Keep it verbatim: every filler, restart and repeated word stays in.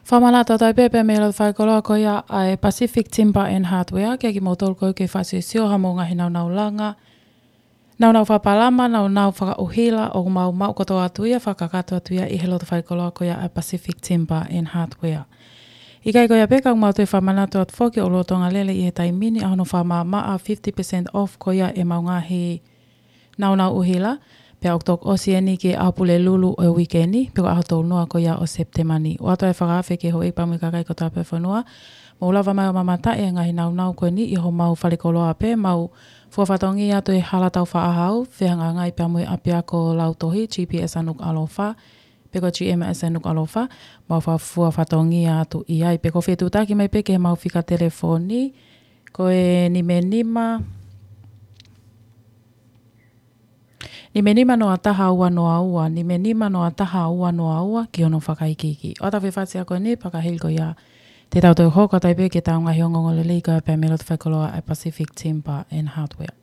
Fakamanatu atu ai pē pea mei loto fakakoloa ko ia ʻa e Pacific Timber and Hardware, ke kimoutolu ko ē ke fakasiosio ha mou ngaahi naunau langa, naunau fakapalama, naunau fakaʻuhila, ʻoku mau maʻu kotoa atu ia, fakakakato atu ia ʻi he loto fakakoloa ko ia ʻa e Pacific Timber and Hardware. ʻIkai ko ia pē ka ʻoku mau toe fakamanatu atu foki ʻoku lolotonga lele ʻi he taimi ni ʻa hono fakamaʻamaʻa fifty percent off ko ia ʻemau ngaahi naunau ʻuhila, pea ʻoku toki ʻosi eni ki he ʻaho Pulelulu ʻo e uike ni, pe ko e ʻaho tolu noa ko ia ʻo Sepitema ni. ʻOatu ʻa e fakaafe ki he houʻeiki pea mo e kakai kotoa pē ʻo e fonua, mou lava mai ʻo mamata e ngaahi naunau ko eni ʻi homau falekoloa pē, mau fua fatongia atu he Hala Taufaʻāhau, fehangahangai pea mo e ʻapiako Lautohi, G P S ʻa Nukuʻalofa, pe ko e G M S ʻa Nukuʻalofa, mau fa-, fua fatongia atu ʻi ai, pe ko e fetuʻutaki mai pē ki heʻemau fika telefoni, ko e nima nima, nima nima noa taha ua noa ua, nima nima noa taha ua noa ua, ki hono fakaikiiki. ʻOatu ʻa e fakaafe ko eni, pea ka hili ko ia, te tau toe hoko atu ai pē ki heʻetau ngaahi ongoongolelei ko ia pea mei loto fakakoloa ʻa e Pacific Timber and Hardware.